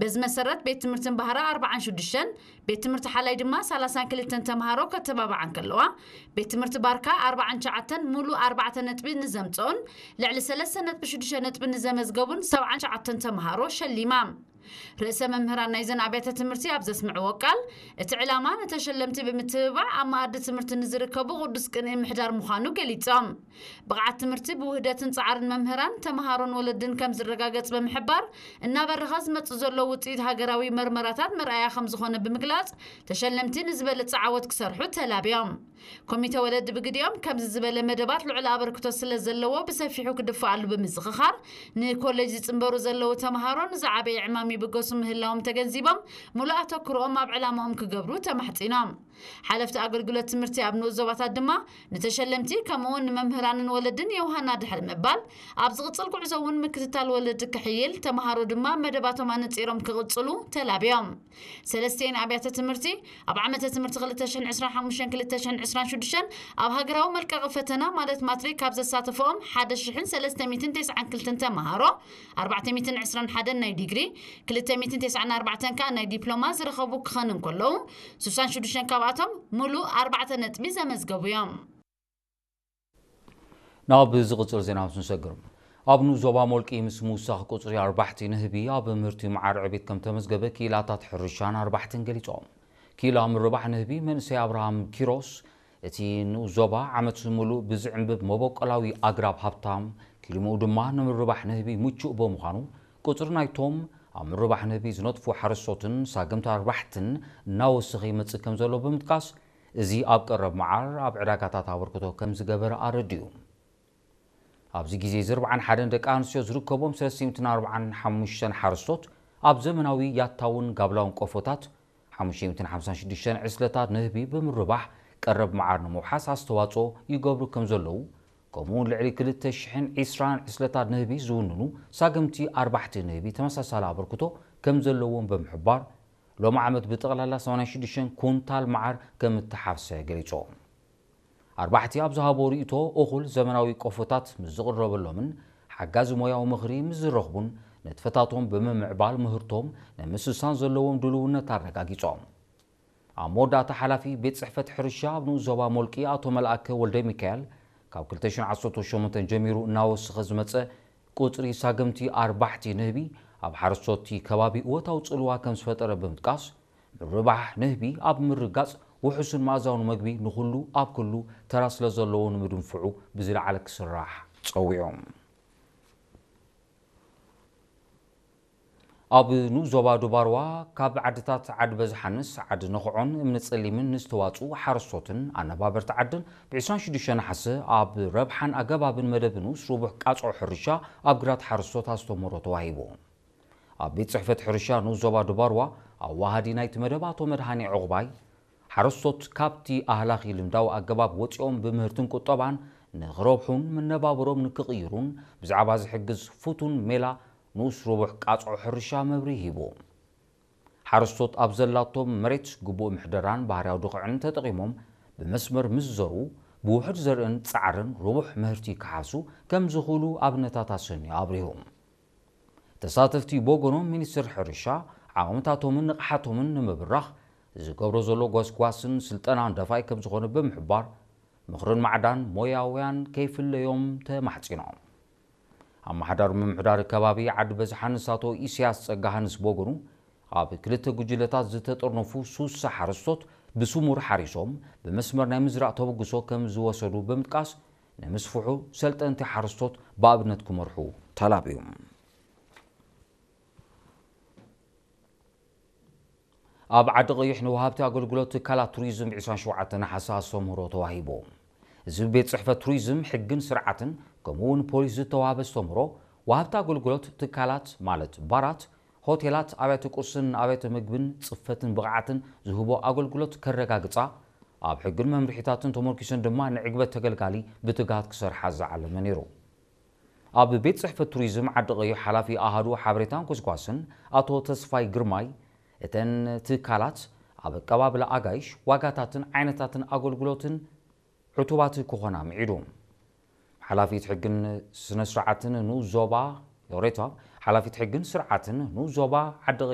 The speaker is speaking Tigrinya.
በዚ መሰረት ቤት ትምህርቲ እምባህራ ኣርባዓን ሽዱሽተን፣ ቤት ትምህርቲ ሓላይ ድማ ሰላሳን ክልተን ተምሃሮ ከተባብዓ እንከለዋ፣ ቤት ትምህርቲ ባርካ ኣርባዓን ትሽዓተን ሙሉእ ኣርባዕተ ነጥቢ ንዘምፅኦን ልዕሊ ሰለስተ ነጥቢ ሽዱሽተ ነጥቢ ንዘመዝገቡን ሰብዓን ትሽዓተን ተምሃሮ ሸሊማ። ርእሰ መምህራን ናይዘን ኣብያተ ትምህርቲ ኣብ ዘስምዕዎ ቃል፣ እቲ ዕላማ ንተሸለምቲ ብምትብባዕ ኣብ መኣዲ ትምህርቲ ንዝርከቡ ቅዱስ ቅንኢ ምሕዳር ምዃኑ ገሊጾም። ብቕዓት ትምህርቲ ብውህደትን ጻዕርን መምህራን፣ ተምሃሮን ወለድን ከም ዝረጋገጽ ብምሕባር፣ እናበረኸ ዝመጽእ ዘሎ ውጽኢት ሃገራዊ መርመራታት መርኣያ ከም ዝኾነ ብምግላጽ፣ ተሸለምቲ ንዝበለጸ ዓወት ክሰርሑ ተላብዮም። ኮሚተ ወለዲ ብግዲኦም ከምዚ ዝበለ መደባት ልዑል ኣበርክቶ ስለ ዘለዎ ብሰፊሑ ክድፈኣሉ ብምዝኽኻር፣ ንኮሌጅ ዝጽንበሩ ዘለዉ ተምሃሮ ንዝዓበየ ዕማም ይብገሱ ምህላዎም ተገንዚቦም፣ ሙሉእ ኣተኩሮኦም ኣብ ዕላማኦም ክገብሩ ተማሕጺኖም። ሓለፍቲ ኣገልግሎት ትምህርቲ ኣብ ንኡስ ዞባታት ድማ ንተሸለምቲ ከምኡውን ንመምህራንን ወለድን የውሃና ድሕሪ ምባል፣ ኣብ ዝቕጽል ጉዕዞ እውን ምክትታል ወለዲ ክሕይል፣ ተምሃሮ ድማ መደባቶም ኣነጺሮም ክቕጽሉ ተላብዮም። ሰለስቲኤን ኣብያተ ትምህርቲ ኣብ ዓመተ ትምህርቲ ክልተ ሽሕን ዕስራን ሓሙሽተን ክልተ ሽሕን ዕስራን ሽዱሽተን ኣብ ሃገራዊ መልቀቒ ፈተና ማለት ማትሪክ ካብ ዘሳተፈኦም ሓደ ሽሕን ሰለስተ ሚእትን ተስዓን ክልተን ተምሃሮ፣ ኣርባዕተ ሚእትን ዕስራን ሓደን ናይ ዲግሪ፣ ክልተ ሚእትን ተስዓን ኣርባዕተን ከኣ ናይ ዲፕሎማ ዝረኸቡ ክኸኑ እንከለዉ፣ ስሳን ሽዱሽተን ካብኣቶም ሙሉእ ኣርባዕተ ነጥቢ ዘመዝገቡ እዮም። ናብ ዝቕጽል ዜና ምስ ንሰግር፣ ኣብ ንኡስ ዞባ ሞልቂ ምስ ምውሳኽ ቁጽሪ ኣርባሕቲ ንህቢ ኣብ ምህርቲ መዓር ዕቤት ከም ተመዝገበ ክኢላታት ሕርሻን ኣርባሕትን ገሊጾም። ክኢላ ምርባሕ ንህቢ መንእሰይ ኣብርሃም ኪሮስ፣ እቲ ንኡስ ዞባ ዓመት ምሉእ ብዝዕንብብ መበቆላዊ ኣግራብ ሃብታም፣ ክሊምኡ ድማ ንምርባሕ ንህቢ ምቹእ ብምዃኑ፣ ቁጽሪ ናይቶም ኣብ ምርባሕ ንህቢ ዝነጥፉ ሓረስቶትን ሳገምቲ ኣርባሕትን እናወሰኸ ይመጽእ ከም ዘሎ ብምጥቃስ፣ እዚ ኣብ ቀረብ መዓር ኣብ ዕዳጋታት ኣበርክቶ ከም ዝገበረ ኣረዲኡ። ኣብዚ ግዜ እዚ ኣርብዓን ሓደን ደቂ ኣንስትዮ ዝርከቦም ሰለስተ ሚእትን ኣርብዓን ሓሙሽተን ሓረስቶት ኣብ ዘመናዊ ያታውን ጋብላውን ቆፎታት ሓሙሽተ ሚእትን ሓምሳን ሽዱሽተን ዕስለታት ንህቢ ብምርባሕ ቀረብ መዓር ንምውሓስ ኣስተዋጽኦ ይገብሩ ከም ዘለዉ፣ ከምኡውን ልዕሊ ክልተ ሽሕን ዕስራን ዕስለታት ንህቢ ዝውንኑ ሳገምቲ ኣርባሕቲ ንህቢ ተመሳሳሊ ኣበርክቶ ከም ዘለዎም ብምሕባር፣ ሎሚ ዓመት ብጠቕላላ ሰማንያን ሽዱሽተን ኩንታል መዓር ከም እተሓፍሰ ገሊጾም። ኣርባሕቲ ኣብ ዝሃቦ ርእይቶ፣ እኹል ዘመናዊ ቆፎታት ምስ ዝቕረበሎምን ሓጋዚ ሞያዊ ምኽሪ ምስ ዝረኽቡን ንጥፈታቶም ብምምዕባል ምህርቶም ንምስሳን ዘለዎም ድልውነት ኣረጋጊጾም። ኣብ መወዳእታ ሓላፊ ቤት ጽሕፈት ሕርሻ ኣብ ንኡስ ዞባ ሞልቂ ኣቶ መልኣከ ወልደሚካኤል፣ ካብ ክልተ ሽሕን ዓሰርተ ሸሞንተን ጀሚሩ እናወሰኸ ዝመጸ ቁጽሪ ሳገምቲ ኣርባሕቲ ንህቢ ኣብ ሓረስቶት'ቲ ከባቢ እወታዊ ጽልዋ ከም ዝፈጠረ ብምጥቃስ፣ ምርባሕ ንህቢ ኣብ ምርጋጽ ውሑስን መኣዛውን መግቢ ንኹሉ ኣብ ክሉ ተራ ስለ ዘለዎ ንምድንፍዑ ብዝለዓለ ክስራሕ ጸዊዖም። ኣብ ንኡስ ዞባ ዱባርዋ ካብ ዓድታት ዓዲ በዝሓንስ ዓዲ ነኽዖን እምኒ ጸሊምን ንዝተዋጽኡ ሓረስቶትን ኣነባበርቲ ዓድን ብ ዕስራን ሽዱሽተን ነሓሰ ኣብ ረብሓን ኣገባብን መደብ ንኡስ ርቡሕ ቃጽዖ ሕርሻ ኣብ ግራት ሓረስቶት ኣስተምህሮ ተዋሂቡ። ኣብ ቤት ጽሕፈት ሕርሻ ንኡስ ዞባ ዱባርዋ ኣዋሃዲ ናይቲ መደብ ኣቶ መድሃኔ ዕቑባይ፣ ሓረስቶት ካብቲ ኣህላኺ ልምዳዊ ኣገባብ ወጺኦም ብምህርትን ቁጠባን ንኽረብሑን መነባብሮም ንክቕይሩን ብዛዕባ ዝሕግዝ ፍቱን ሜላ ንኡስ ርቡሕ ቃጽዖ ሕርሻ መብርሂ ሂቡ። ሓረስቶት ኣብ ዘላቶም መሬት ግቡእ ምሕደራን ባህርያዊ ድኹዕን ተጠቒሞም ብመስመር ምስ ዘርኡ ብውሑድ ዘርእን ጻዕርን ርቡሕ ምህርቲ ክሓፍሱ ከም ዝኽእሉ ኣብነታት ኣሰንዩ ኣብሪሁ። ተሳተፍቲ ብወገኖም ሚኒስትር ሕርሻ ዓቕምታቶምን ንቕሓቶምን ንምብራኽ ዝገብሮ ዘሎ ጎስጓስን ስልጠናን ደፋኢ ከም ዝኾነ ብምሕባር ምኽርን ማዕዳን ሞያውያን ከይፍለዮም ተማሕጺኖም። ኣመሓዳሪ ምምሕዳር ከባቢ ዓዲ በዝሓንስ ኣቶ ኢሳያስ ጸጋሃንስ ብወገኑ ኣብ ክልተ ጉጅለታት ዝተጠርነፉ ሱሳ ሓረስቶት ብስሙር ሓሪሶም ብመስመር ናይ ምዝራእ ተበግሶ ከም ዝወሰዱ ብምጥቃስ ንምስፍሑ ሰልጠንቲ ሓረስቶት ብኣብነት ክመርሑ ተላብዩ። ኣብ ዓዲ ቀይሕ ንወሃብቲ ኣገልግሎት ትካላት ቱሪዝም ዕስራን ሸውዓተ ነሓሰ ኣስተምህሮ ተዋሂቡ። እዚ ብቤት ጽሕፈት ቱሪዝም ሕግን ስርዓትን ከምኡ እውን ፖሊስ ዝተዋህበ ኣስተምህሮ ወሃብቲ ኣገልግሎት ትካላት ማለት ባራት፣ ሆቴላት፣ ኣብያተ ቁርስን ኣብያተ ምግብን ጽፈትን ብቕዓትን ዝህቦ ኣገልግሎት ከረጋግጻ ኣብ ሕግን መምርሒታትን ተመርኪሰን ድማ ንዕግበት ተገልጋሊ ብትግሃት ክሰርሓ ዝዓለመ ነይሩ። ኣብ ቤት ጽሕፈት ቱሪዝም ዓዲ ቀይሕ ሓላፊ ኣሃዱ ሓበሬታን ጎስጓስን ኣቶ ተስፋይ ግርማይ፣ እተን ትካላት ኣብ ኣቀባብላ ኣጋይሽ ዋጋታትን ዓይነታትን ኣገልግሎትን ዕቱባት ክኾና ምዒዱ። ሓላፊት ሕግን ስነ ስርዓትን ንኡስ ዞባ ዮሬታ፣ ሓላፊት ሕግን ስርዓትን ንኡስ ዞባ ዓዲ